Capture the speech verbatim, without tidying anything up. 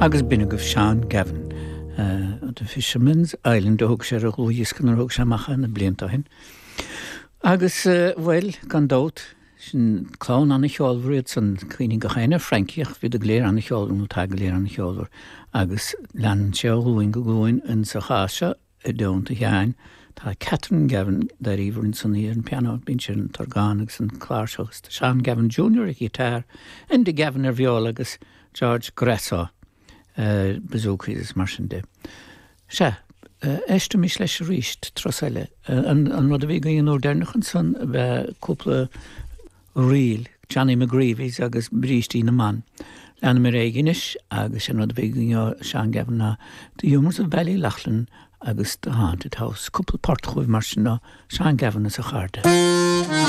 Agus b'in agaibh Seán Gavin. Uh, The Fisherman's Island a thug sé ar a dhlúthdhiosca nuair a thug sé amach é na blianta ó shin. Agus uh, bhuel gan dabht sin clann an-cheolmhar iad san cuimhním go háirithe Frankie ach bhí go léir an-cheolmhar nó tá go léir an-cheolmhar agus leanann sé ó ghlúin go glúin in sa chás seo i dteannta Sheáin tá Catherine Gavin dáiríre san í ar an piano bíonn sé an t-orgán agus an cláirseach agus Seán Gavin Junior ar ghiotár, Enda Gavin ar viola agus George Grasso uh, bouzouki is mar sin de. Se, uh, éistimis leis arís turas eile. Uh, an, an rud a bhí againn an uair dheireanach ansan bheith cúpla ríl, Johnny McGreevy's agus Brístí na mBan. Leanfaimid ar aghaidh anois agus an rud a bhí againn ó Seán Gavin ná The Humours of Ballyloughlin agus The Haunted House, cúpla port chugaibh mar sin ó Seán Gavin is a chairde.